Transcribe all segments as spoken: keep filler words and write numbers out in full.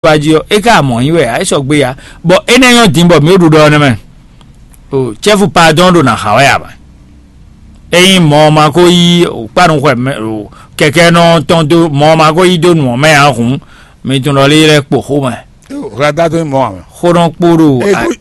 wá jí ɔ́, é ka mɔ nyi wɛ ǎ, é sɔgbe ǎ. Bɔ énɛ́ nyɔ́ din bɔ mǐ ɖo ɖiɖɔ ɔ́ nɛ́ mɛ. O cɛ́fu padɔn ɖo nǎ xa wɛ ǎ mɛ. Ényí mɔ ɔ́ ma ko yí kpánu xɔ mɛ o kɛkɛ́nɔ tɔn dó mɔ ɔ́ ma ko yí dó nǔ ɔ́ mɛ ǎ hǔn, mi tunwun ɖɔ lé lɛ́ kpo xó mɛ. Hwlɛ́ndá tó nyí mɔ ǎ mɛ. Xó nɔ kpó ɖo.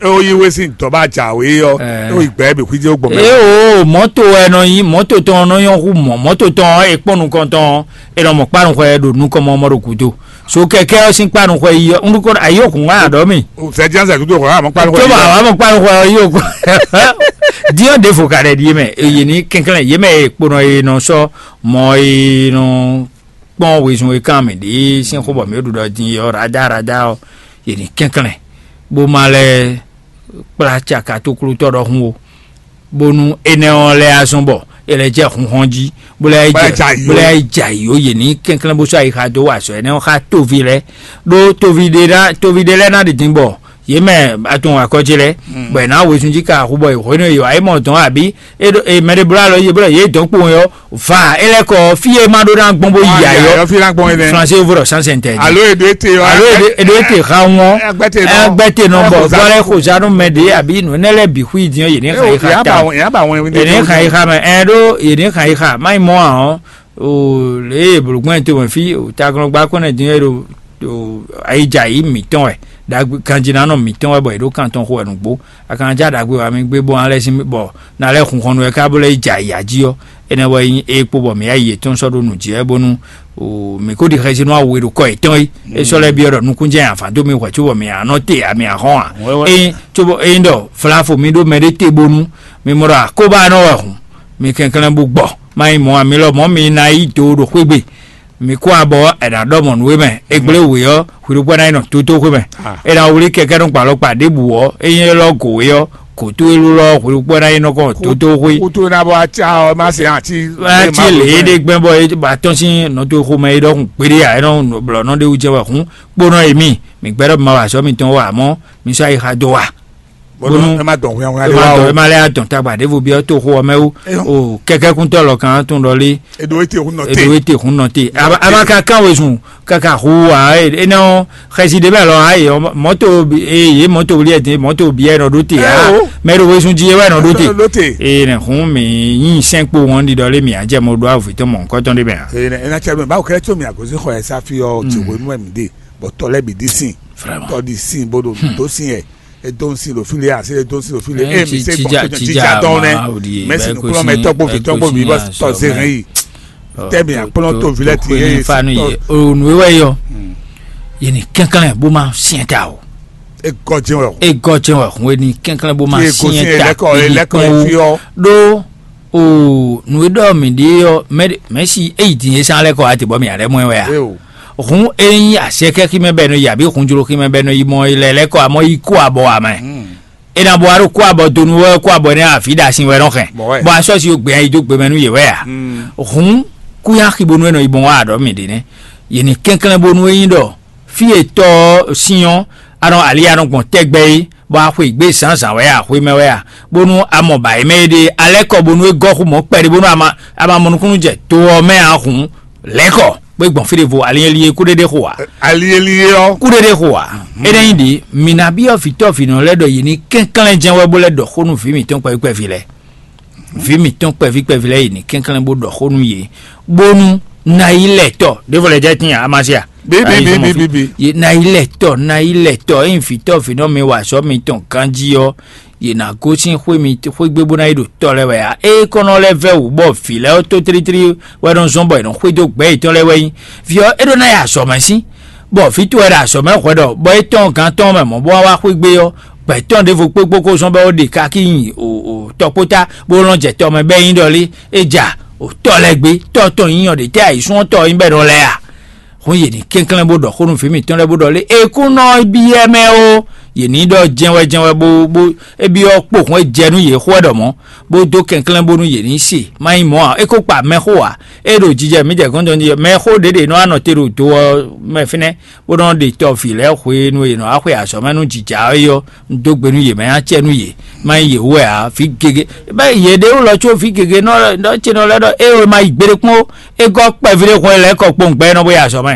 Ó yí wé sín dɔ̌ bá jǎwe ɔ́, ó yi gbɛ̌ bǐ xwíjé ó gbɔn mɛ. Ée o mɔ̌to wɛ nɔ nyí mɔ̌to tɔn nɔ nyɔ́ hú mɔ̌ mɔ̌to tɔn ɔ́, è kpɔ́n nukɔn tɔn ɔ́, è nɔ mɔ kpánu xɔ ɛ ɖo nukɔn mɔ mɔ ɖo gǔdo. So kɛkɛ ɔ́ sín kpanu xɔ yi ɔ́, un ɖo kɔ ayí òkun wá aɖɔ mi. Sɛ jẹ́ sɛ dúdú xɔ àmọ́ kpanu xɔ tó bá wà mọ́ kpanu xɔ yi òkun. Diɔ ɖe fo ka ɖe ɖi mɛ, yé ní kɛnklɛn yé mɛ e kponɔ e nɔ sɔ mɔ e nɔ kpɔn wezun e kan mɛ ɖe sín xó bɔ mɛ ɖu ɖɔ din yɔ rada rada ɔ́, yé ní kɛnklɛn bó ma lɛ kplá caka tó klútɔ ɖɔhun o. Bónú énɛ́ ɔ́ lɛ́ azɔn bɔ é lɛ́ jɛ hunhɔn jí, bó lɛ́ jɛ bó lɛ́ jɛ ayǐ ó, yě ní kɛnklɛ́n bó sɔ́ ayixa dó wa azɔ̌ énɛ́ ɔ́ xá toví lɛ́ɛ. Ɖó toví ɖé ná toví ɖé lɛ́ɛ ná ɖi din bɔ yě mɛ atun akɔ ce lɛ́ɛ, bɔ è nǎ wezun jí ka axu bɔ è hwenu e yě wá yi mɔ dɔn abǐ é ɖo- e mɛ ɖé bló alɔ yě bló yě dɔn kpowun ɔ́, va é lɛ́ kɔ fí e ma ɖó ná gbɔn bó yi ayɔ. Flanse vo ɖɔ sansɛntɛ alo eɖo ete ɔ alo eɖo ete xa ŋɔ agbɛte nɔ bɔ bɔ lɛ xozanu mɛ ɖe abi nɔ ne lɛ bi xui diɔ yene xa yi xa ta yene xa yi xa mɛ ɛ ɖo yene xa yi xa mayi mɔ ahɔn o le bologbɔn to mɛ fi o taglɔgba kɔnɛ diɔ ɖo o ayidza yi mitɔn wɛ dagbe kanjinanɔ mitɔn wɛ bɔ yi ɖo kantɔn xo wɛ nugbo akanjá dagbe wa mi gbé bɔ alɛ sin bɔ na lɛ hun xɔnu wɛ ká bó lɛ yi dza yi aji ɔ enɛ wɛ nyi e kpo bɔ mi ya yi etɔn sɔ ɖo nu ji wɛ bonu o mi ko ɖi xɛsi nɔ awo e ɖo kɔ etɔn yi e sɔ lɛ biɔ ɖɔ nukun jɛ afa do mi hwɛ tso bɔ mi anɔ te ami ahɔn a eyin tso bɔ eyin ɖɔ flafo mi ɖo mɛ ɖe te bonu mi mɔ ɖɔ akoba nɔ wɛ hun mi kɛnklɛn bu gbɔ ma yi mɔ ami lɔ mɔ mi na yi do ɖo xwegbe mi kó abɔ ɛ nǎ ɖɔ mɔ nǔ e mɛ e gblé wě ɔ́ hwiɖukpɔ́ ná yi nɔ tótóxwé mɛ. È nǎ wlí kɛkɛ́núgban alɔkpa ɖěbǔ ɔ́, ényí é lɔ́ gǒ é ɔ́, kǒtó élú lɔ hwiɖukpɔ́ ná yi nɔ kɔn tótóxwé. Kútó ná bɔ acá ɔ́ má se àti. Ati lě é ɖe gbɛ́ bɔ é ba tɔ́n sín nɔtoxomɛ é ɖɔhun kpeɖé ǎ é nɔ blɔ nɔ ɖé wú jɛ wɛ hǔn kpónɔ e mì mǐ gbɛ́ ɖɔ ma wa azɔ̌ mitɔn wɔ amɔ̌ mi sɔ́ ayixa dó wa. Bónú ɛ má dɔn hwɛhwɛ ɛ má dɔn ɛ má lɛ adɔn tagba ɖěvo byɔ́ toxo ɔ́ mɛ wú o kɛkɛ́kúntɔ́ lɔ kan tún ɖɔ lé. Eɖo ete hun nɔ te. Eɖo ete hun nɔ te aba aba ka kan wezun kaka hu wa ena ɔ xɛsi ɖe bɛ lɔ ayi mɔto eye mɔto wuli ɛdi mɔto biɛ nɔ ɖo te a mɛ ɖo wezun ji wɛ nɔ ɖo te. Eye ne hun mi yin sɛn kpo wɔn ɖi ɖɔ lé mi adze mo ɖo avu tɔn mɔ nkɔtɔn ɖe mɛ a. Ena cɛ mi bawo kɛ tso mi agozi xɔ ɛ safi ɔ ti wo nu ɛ mi de bɔ tɔ lɛ bi di sin. Vraiment. Tɔ di sin bo ɖo do sin yɛ. Edonsi ɖo fili asi edonsi ɖo fili emi se gbɔ tija dɔn nɛ mɛsi nukplɔmɛtɔ kpo vitɔ kpo mi bɔ tɔ zehɛn yi tɛmi akplɔ to vilɛ ti ye fanu ye onu ewɛ yɔ yeni kankan bó ma siɛn ta o egɔ jɛn wɛ egɔ jɛn wɛ hun eni kankan bó ma siɛn ta lɛkɔ lɛkɔ fi ɔ ɖo o nu e ɖɔ mi ɖe yɔ mɛ si eyi din ye san lɛkɔ ati bɔ mi alɛ mɔ wɛ a. Hun e nyí azɛkɛ ximɛ bɛ nɔ yi abi hunjlo ximɛ bɛ nɔ yi mɔ ilɛ lɛ kɔ amɔ yi kó abɔ amɛ. E na bɔ alo kó abɔ donu wɛ kó abɔ ne afi da sin wɛ nɔ xɛ. Bɔ asɔ si o gbɛ yi do gbɛmɛ nu ye wɛ a. Hun kuya xibonu e nɔ yi bɔn wa aɖɔ mi de ne. Ye ni kɛnklɛn bonu e nyi ɖɔ fi e tɔ sin ɔ anɔ ali anɔ gbɔn tɛgbɛ yi bɔ axwe gbe zǎnzǎn wɛ a xwe mɛ wɛ a bonu amɔ ba yi mɛ yi ɖe alɛ kɔ bonu e gɔ xu mɔ kpɛɖe bonu ama ama mɔ nukunu jɛ to ɔ mɛ a hun lɛkɔ bó gbɔn fí ɖěvo alieli e kúɖéɖé xo ǎ. Alieli e ɔ́. Kúɖéɖé xo ǎ. Énɛ́ nyi ɖě, mǐ ná byɔ́ vǐtɔ́ vǐnɔ lɛ́ɛ ɖɔ yě ní kɛnklɛ́n jɛ́n wɛ bó lɛ́ ɖɔ xó nú vǐ mǐtɔn kpɛví kpɛví lɛ́ɛ. Vǐ mǐtɔn kpɛví kpɛví lɛ́ɛ yě ní kɛnklɛ́n bó ɖɔ xó nú yě, bónú ná yi lɛ tɔ́ ɖěvo lɛ́ɛ jɛ tín Amasia. Bibibibibi. Ná yi lɛ tɔ́, ná yi lɛ tɔ́, ényí vǐtɔ́ vǐnɔ mi wa azɔ̌ mitɔn ganjí ɔ́, yě ná gosín xwé mi xwé gbe bó ná yi ɖo tɔ lɛ́ɛ wɛ ǎ. Ée kɔ́nɔ lɛ́ɛ vɛ́ wǔ bɔ vǐ lɛ́ɛ ɔ́ tótlítrí wɛ nɔ zɔ́n bɔ è nɔ xwedó gbɛ̌ yětɔn lɛ́ɛ wɛ nyí. Vǐ ɔ́, é ɖó ná yi azɔ̌ mɛ sín, bɔ vǐ towe ɖo azɔ̌ mɛ hwɛ ɖɔ bɔ é tɔ́n gán tɔn mɛ mɔ̌ bó wá wá xwé gbe ɔ́, gbɛ̌ tɔn ɖěvo kpékpó kó zɔ́n bɔ é ɖe kákí nyi tɔkpótá bó lɔn jɛ tɔ mɛ bɛ́ nyí ɖɔ lé é ja tɔ lɛ́ɛ gbé tɔ tɔn nyí ɔ́ ɖě tɛ́ ayǐsúnɔtɔ nyí bɔ è nɔ lɛ́ɛ a? Hɔn yě ní kɛnklɛ́n bó ɖɔ xó nú vǐ mǐtɔn lɛ́ɛ bó ɖɔ lé é kún nɔ byɔ́ mɛ ó. Yě ní ɖɔ jɛnwɛ jɛnwɛ bó bó é byɔ́ kpo hɔn é jɛ nú yě xó wɛ ɖɔ mɔ̌, bó dó kɛnklɛ́n bónú yě ní se. Má nyí mɔ̌ ǎ, é kó kpa mɛ xó ǎ. É ɖo jijɛ mǐ jɛ gɔ́n jɔ́n jí mɛ xó ɖěɖě nɔ wá nɔ te ɖo do ɔ́ mɛ fínɛ́, bó nɔ ɖe tɔ vǐ lɛ́ɛ hwenu e yě nɔ wá xwe azɔ̌ mɛ nú jǐjá é ɔ́, un dó gbe nú yě, mɛ nyí acɛ nú yě. Má nyí yě wú wɛ ǎ, vǐ gěgé bɛ́ yě ɖě wú lɔ có vǐ gěgé nɔ nɔ ce nɔ lɛ́ ɖɔ é wɛ ma yi gbeɖé kpɔ́n ó. É gɔ́ kpɛví ɖé hwɛ lɛ́ kɔ kpowun gbɛ é nɔ bó yi azɔ̌ mɛ.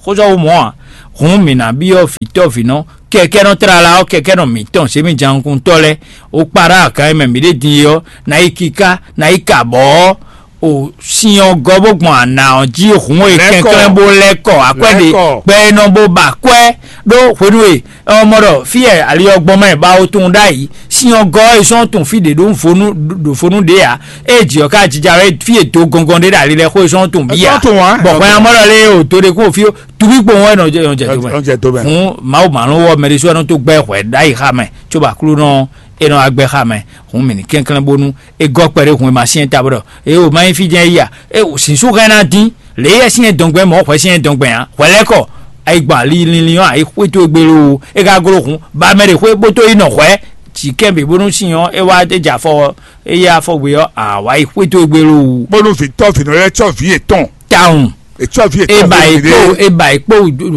Xó sɔ́ wú mɔ̌ ǎ. Hǔn mǐ ná byɔ́ vǐtɔ́vǐnɔ kɛkɛ́nɔ tlala ɔ́, kɛkɛ́nɔ mǐtɔn zěmijǎnukúntɔ́ lɛ́ɛ, ó kpá ɖó aga e mɛ mǐ ɖe din é ɔ́, ná yi kíká, ná yi ka bɔ̌ ɔ́, o sin ɔ́ gɔ́ bó gbɔn ana ɔ́ jí hǔn e kɛnklɛ́n bó lɛ́ kɔ akwɛ́ ɖe gbɛ e nɔ bó ba akwɛ́ ɖó hwenu e ɔmɔ ɖɔ fí e ali ɔ́ gbɔn mɛ ba ó tunwun ɖ'ayǐ. Sin ɔ́ gɔ́ e sɔ́n tunwun fí ɖě ɖó vo nú ɖo vo nú ɖě ǎ. Ée jǐ ɔ́ ka jija wɛ fí e do gɔngɔn ɖé ɖo ali lɛ́ɛ xó e sɔ́n tunwun bǐ ǎ. Bɔ hwɛ amɔ́ ɖɔ lé o do ɖé kún o fí ó, tubí kpowun wɛ nɔ jɛ nɔ jɛ do mɛ. Hǔn Mawu mǎ nɔ wɔ mɛ ɖésú wɛ nɔ tó gbɛ́ hwɛ ɖ'ayǐ xa mɛ, cóbɔ Aklúnɔ é nɔ wá gbɛ́ xa mɛ. Hǔn mǐ ní kɛnklɛ́n bónú é gɔ́ kpɛɖé hun e ma syɛ́n ta bó ɖɔ: "Éeǒ, má nyí fí jɛ́n é yi a? É zǐnzún hɛn ná dín, lě yɛ sín dɔngbɛ́ mɔ̌ hwɛ sín dɔngbɛ́ ǎ. Hwɛ lɛ́ kɔ, ayi gbɔn ali linlin ɔ́, ayi xwé towe gbe loo, é ka gló hun, ba mɛ ɖě xwé bó tó yi nɔ hwɛ̌, jǐ kɛ́n bǐ bónú sin ɔ́ é wá é jɛ afɔ ɔ́, é yá afɔgbe ɔ́, a wǎ yi xwé towe gbe loo." Bónú vǐtɔ́ vǐnɔ lɛ́ɛ cɔ́ vǐ yětɔn. Tawun. È cɔ́ vǐ yětɔn. Eba vǐnɔ yi kpó ɖě. Eba yi kpó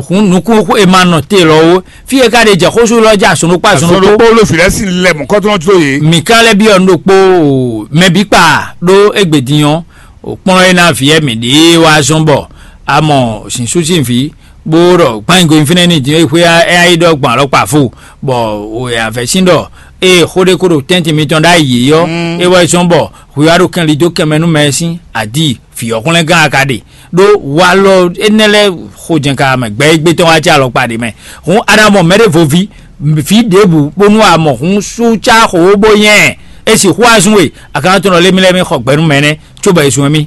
hun nukún e ma nɔ te lɔ ó. Fí e ka ɖe jɛ xósú lɔ jɛ azɔn ɖokpó azɔn ɖokpó. Azɔn ɖokpó ló vǐ lɛ́ɛ sín lɛ mɔ̌kɔtɔn jó yě. Mǐ ka lɛ́ byɔ́ nǔ ɖokpó o, mɛ bǐ kpa ɖó égbé din ɔ́, o kplɔ́n é ná vǐ wɛ mǐ ɖe wá zɔ́n bɔ a mɔ zǐnsu sín vǐ, bó ɖɔ gbányingo fínɛ́ ní din é xwé ɛ yi ɖɔ gbɔn alɔkpa fo, bɔ o yɛ avɛ sín ɖɔ ée xó ɖé kó ɖo tɛ́ntin mitɔn ɖ'ayǐ é ɔ́, é wɛ zɔ́n bɔ hwi wá ɖo kɛnli dó kɛnmɛ nú mɛ e sín adi vǐ ɔ́ hwlɛ́ngán a ka ɖe. Ɖó walɔ énɛ́ lɛ́ɛ xo jɛn ka mɛ gbɛ e gbé tɔn wá jɛ alɔkpa ɖě mɛ. Hǔn a nǎ mɔ mɛɖěvo ví, vǐ ɖěbǔ bónú a mɔ hǔn sú cá xo bó nyɛ ɛ. É sixú azún we, a ka ná tunɔ lé mì lɛ́ɛ mì xɔ gbɛ nú mɛ nɛ́, cóbɔ è zun mì.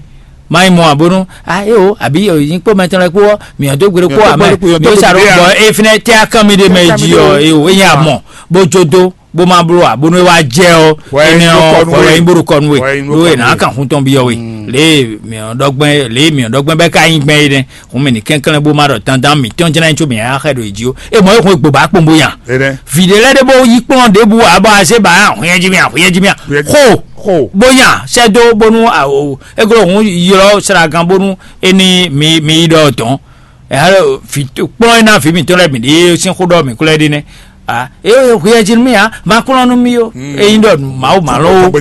Má nyí mɔ ǎ bónú a é o, àbí nyí kpó mɛtɔn lɛ́ɛ kpó ɔ́, mǐ ɔ́ dó gbe ɖó kpó amɛ, dó sa ɖó bɔ é fínɛ́ tɛ́ akán mi ɖé mɛ jí ɔ́, é o, é nyí a mɔ, bó jó dó, bó má bló ǎ, bónú é wá jɛ ɔ́, énɛ́ ɔ́ hwɛ wɛ nyí bó ɖo kɔ nú we, ɖó è nǎ kan hun tɔn byɔ́ we. Lě e mǐ ɔ́ ɖɔ gbɛn lě e mǐ ɔ́ ɖɔ gbɛn bɛ́ ka nyí gbɛn é nɛ́. Hǔn mì ní kɛnklɛ́n bó má ɖɔ dandan mǐtɔn jlɛ́n có mǐ á xɛ ɖo yě jí ó. É mɔ é hun egbò bá kpɔn bó nya. Vǐ ɖé lɛ́ɛ ɖé bó yí kplɔ́n ɖěbǔ ǎ bɔ azé ba nya hwinnyɛ́ jí mì a hwinnyɛ́ jí mì a xo bó nya sɛ́ dó bónú é gló hǔn ylɔ́ sragan bónú é ní mi mi yi ɖɔ dɔ̌n. Kplɔ́n é ná vǐ mǐtɔn lɛ́ɛ bǐ ɖě sín xó ɖɔ mǐ kú lɛ́ɛ ɖe nɛ́. A é hweyɛ́ jí nú mì ǎ, ma kplɔ́n nú mì ó. Ényí ɖɔ Mawu mǎ ló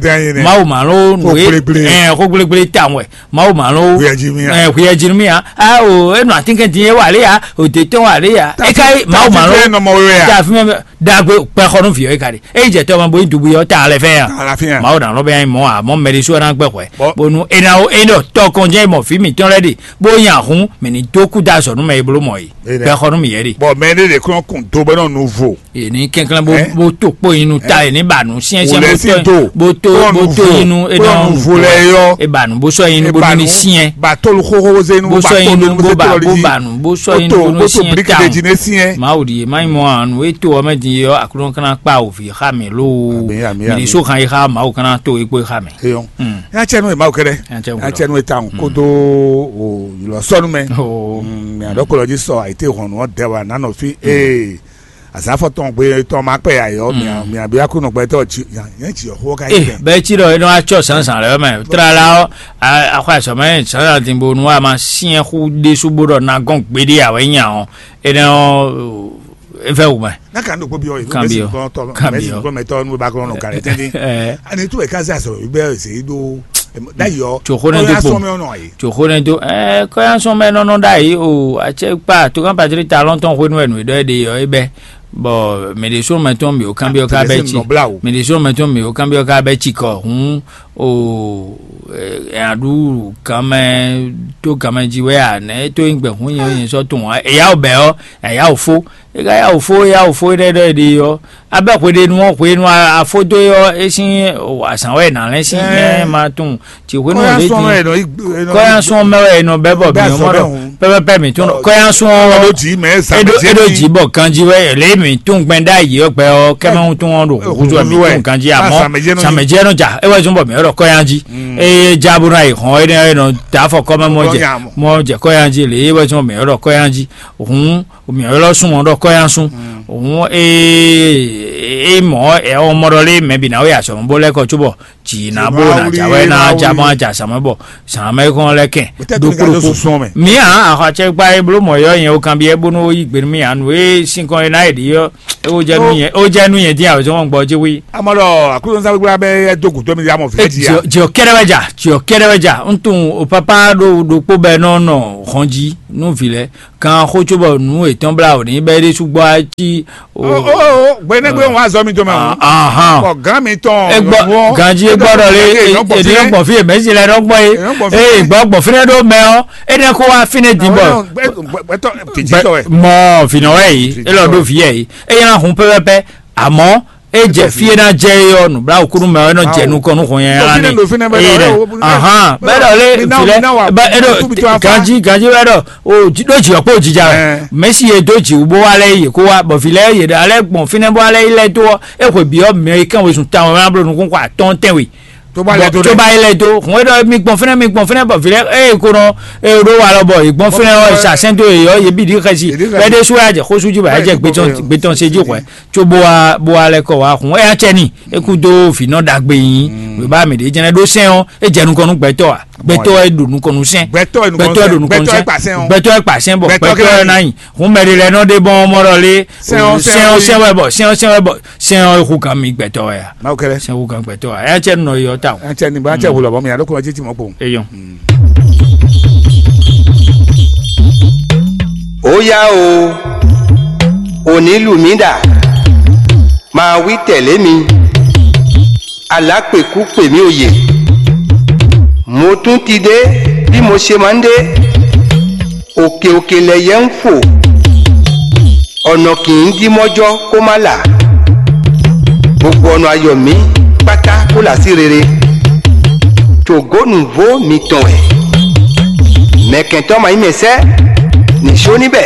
Mawu mǎ ló nǔ é xó gblégblé tawun wɛ. Mawu mǎ ló hweyɛ́ jí nú mì ǎ. Ɛ hweyɛ́ jí nú mì ǎ. A o é nɔ atínkɛn din é wà lé ǎ, òdè tɔn wà lé ǎ. É ká yí Mawu mǎ ló ta fí mɛ ɖagbe kpɛ xɔ nú vǐ ɔ́ é ka ɖe. Ényí jɛ tɔmɔ bó nyí dugbe ɔ́ ta alɛ fɛ ya. Mawu ná lɔ bɛ nyi mɔ amɔ mɛ ɖésú ɔ́ ná gbɛ xwɛ. Bónú é ná ó é ɖɔ tɔkɔnjɛ mɔ vǐ mǐtɔn lɛ́ɛ ɖe bó nyi ahun mɛ ní dó kú dó azɔ̌ nú mɛ e bló mɔ é. Bɛ xɔ nú mǐ yɛ ɖe. Bɔ mɛ ɖé ɖě kún kún do bɛ nɔ nu vo. È ní kɛnklɛ́n bó bó to kpó nyi nu ta, è ní ba nǔ syɛ́nsyɛ́n bó tɔ bó to bó to nyi nu é nɔ nu vo lɛ yɔ. É ba nǔ bó sɔ nyi nu bó ní syɛn. Ba tolu xóxó zé nu bó sɔ nyi nu bó ba bó ba nǔ bó sɔ nyi nu bó ní syɛn ta. Mawu ɖi má nyí mɔ anu é to ɔmɛ din yɔ aklúnɔ kana kpa òvì xa mɛ lóo. Mǐ ní so xan yi xa Mawu kana to é kpó xa mɛ. Eyɔn. Ya cɛ nu e Mawu kɛɖɛ. Ya cɛ nu e tawun kodo o ylɔ sɔnu mɛ. Mɛ adɔ kɔlɔ ji sɔ ayite hɔn nɔ dɛ wa nanɔ fi ee azafɔ tɔn gbe tɔn ma kpɛ ya yɔ mɛ mɛ abi aku nɔ gbɛtɔ ji yɛn ji yɔ xo ka yi. Bɛɛ ci ɖɔ enɔ atsɔ zǎnzǎn lɛ mɛ tlala ɔ akɔ azɔmɛ zǎnzǎn din bo nu a ma siɛn xu ɖésú bó ɖɔ na gɔn gbeɖé awɛ nya ɔ enɛ ɔ. Evɛ wumɛ. N'a kan ɖo kpó byɔ yi. Kan byɔ. Kan byɔ. Kan byɔ. Mɛ tɔn nu ba kɔnɔ kari tɛnti. Ani tu ɛka zɛ asɔ bɛ se do. D'ailleurs, tso xó ne do kpo. Tso xó ne do ɛɛ kɔyansɔn mɛ nɔnɔ ɖ'ayi o atsɛ kpa to kan patri ta lɔntɔn xó nu ɛnu ɖɔ ɛɖe yɔ ebɛ. Bɔ mɛ de so mɛ tɔn mi o kan byɔ ka bɛ tsi mɛ de so mɛ tɔn mi o kan byɔ ka bɛ tsi kɔ hun o ɛɛ aɖu kan mɛ to kan mɛ ji wɛ a nɛ to yin gbɛ hun yin yin sɔ tun wa eya o bɛ ɔ eya o fo. E ka ya wò fó ya wò fó ɖɛ ɖɔ è ɖe ɔ́, abɛ hweɖenu ɔ́ hwenu afó dó é ɔ́ é sín azǎn wɛ è nǎ lɛ́n sín ɛ ma tunwun. Tsi hwenu lě din kɔ́yánsún ɔ́ mɛ wɛ è nɔ bɛ́ bɔ mǐ mɔ ɖɔ pɛpɛpɛ mǐ tún kɔ́yánsún ɔ́ é ɖó jǐ bɔ ganjí wɛ lě mǐ tún gbɛn ɖ'ayǐ ɔ́ gbɛ ɔ́ kɛ́mɛ wúntún ɔ́ ɖo húzú wɛ mǐ tún ganjí àmọ́ sàmɛ̀jẹ́ nɔ jà é wɛ zún bɔ mǐ ɔ́ ɖɔ kɔ́yánjí. Eye já bó ná yi hɔn é nɔ ta afɔ kɔ́mɛ mɔ jɛ mɔ jɛ kɔ́yánjí lě é wɛ zún bɔ mǐ ɔ́ ɖɔ kɔ́yánjí. Hǔn mǐ ylɔ́ sún ɔ́ ɖɔ kɔ́yánsún. Hǔn ee é mɔ ɛ ɔ́ mɔ ɖɔ lé mɛ bǐ ná wɛ azɔ̌ bó lɛ́ kɔ cóbɔ jǐ ná bó ná jà wɛ ná ja mɔ ja sàmɛ bɔ sàmɛ kɔn lɛ kɛn ɖokpó ɖokpó. Mǐ a axɔacɛ gba é bló mɔ yɔ nyɛ o kanbyɛ bónú ó yí gbe nú mì anu é sín kɔn é ná yɛ ɖi yɔ é ó jɛ nú nyɛ ó jɛ nú nyɛ dín awɛ zɔn gbɔ jí wí. Amɔ ɖɔ aklúzɔnsa gbígbá bɛ ɛ dó gǔdo mi amɔ fífẹ́ jí ya. Jìɔ kɛɖɛ wɛ ja jìɔ kɛɖɛ wɛ ja ń tún o pápá ɖo ɖokpó bɛ nɔ nɔ hɔn jí nú vǐ lɛ kan xó cóbɔ nǔ yětɔn blá wǒ ní bɛ́ ɖésú gbɔ cí. Gbɛnɛgbɛ wọn azɔ mi tɔn mɛ o. Ahan. Bɔ gán mi tɔn. Egbɔ ganji egbɔ ɖɔ le ènìyàn gbɔn fi yɛ mɛsi lɛ nɔ gbɔn ye. Ee gbɔ gbɔn fi nɛ ɖo mɛ ɔ enɛ kó wá fi nɛ din bɔ. Gbɛtɔ titi tɔ wɛ. Mɔ finɔ wɛ yi elɔ ɖo fi yɛ yi eye na hun pɛpɛpɛ. Àmọ́ é jɛ fí é ná jɛ é ɔ́ nǔbláwǔkúnú mɛ ɔ́ é nɔ jɛ nukɔn nú hɔn nyanya ní. Ahan bɛ́ ɖɔ lé vǐ lɛ́ bɛ́ é ɖo ganjí ganjí bɛ́ ɖɔ o ɖó jǐ ɔ́ kpó jija wɛ mɛ̌si e dó jǐ wú bó wá lɛ́ yě kó wá bɔ vǐ lɛ́ yě ɖa lɛ́ gbɔn fínɛ́ bó wá lɛ́ yi lɛ́ dó ɔ́ é hwe bǐ ɔ́ mɛ e kɛn wezun tawun wɛ ná bló nukún xɔ atɔ́ɔ́n tɛ́nwe. Tó bá lɛ tó tó dé. Bá yi lɛ tó hɔn é ɖɔ mi gbɔn fínɛ́ mi gbɔn fínɛ́ bɔ vǐ lɛ́ é ko nɔ é ɖó wa lɔ bɔ è gbɔn fínɛ́ ɔ́ è sa sɛ́n dó yě ɔ́ yě bǐ ɖi xɛsi Yě ɖi xɛsi. Bɛ́ ɖésú wá jɛ xósú jí bɔ é jɛ gbétɔn gbétɔn sé jí xwɛ. Có bó wá bó wá lɛ́ kɔ wá hun éyá cɛ ni é kú dó vǐ nɔ ɖagbe nyi wěbá mǐ ɖě jɛnɛ ɖó sɛn ɔ́ é jɛ nukɔn nú gbɛtɔ́ a gbɛtɔ́ é ɖo nukɔn nú sɛn Gbɛtɔ́ é nukɔn gbɛtɔ́ é sɛn, ɖo nukɔn nú gbɛtɔ́ é sɛn kpa sɛn ɔ́. Gbɛtɔ́ é kpa sɛn bɔ Gbɛtɔ́ gbɛtɔ́ kɛ é ná nyi hun mɛ ɖé lɛ́ɛ nɔ ɖe bɔn mɔ ɖɔ lé Sɛn ɔ́, sɛn sɛn ɔ́, ɔ́, sɛn wɛ bɔ sɛn ɔ́, sɛn wɛ bɔ sɛn ɔ́ é hu kan mi gbɛtɔ́ wɛ a Mawu kɛlɛ. Sɛn hu kan gbɛtɔ́ wɛ a éyá cɛ nɔ yɔ ta o Ɛ cɛ ni ba cɛ hu lɔ bɔ mi alo kɔ ma titi mɔ kpo. Eyɔn. Ó yá o, ò ní lù mí ɖa, ma wí tɛ̌lé mi, alǎ kpěkú kpě mì o yě. Mo tún ti ɖé bí mo ṣe ma ń ɖé, òkè òkè lɛ yɛ ń fò, ɔ̀nà kì í dí mɔ́jɔ́ kó má là, gbogbo ọ̀nà ayọ̀ mí kpátá kó là sí rere. Tògó nǔvó mitɔn wɛ. Mɛ̌kɛntɔ́ ma nyí mɛ sɛ́, ní só ní bɛ̌,